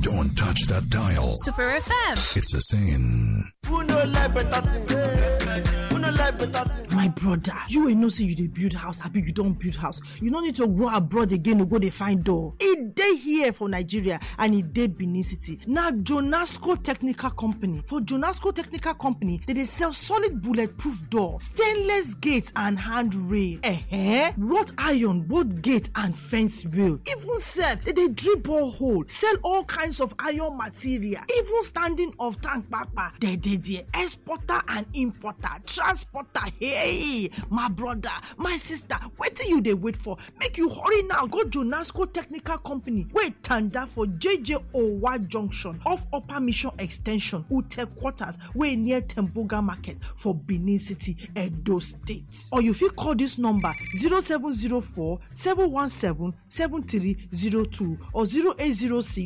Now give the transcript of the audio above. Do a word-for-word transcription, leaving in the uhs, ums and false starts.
Don't touch that dial. Super F M. It's a saying. Who no like better thing? Who no like better thing? My brother, you ain't know say you dey build house, abi you don build house. You no need to go abroad again to go dey find door. E dey here for Nigeria and e dey Benin City. Na Jonasco Technical Company. For Jonasco Technical Company, they dey sell solid bulletproof door, stainless gate and handrail, eh, wrought iron, both gate and fence rail. Even sef, they dey drill borehole, sell all kinds of iron material, even standing of tank kpakpa. They dey there, exporter and importer, transporter. Hey, my brother, my sister, wetin you dey wait for? Make you hurry now, go Jonasco Technical Company, wey tanda for J J Owa Junction, off Upper Mission Extension, Ute Quarters, wey near Temboga Market for Benin City, Edo State. Or you fit call this number, zero seven zero four, seven one seven, seven three zero two or zero eight zero six,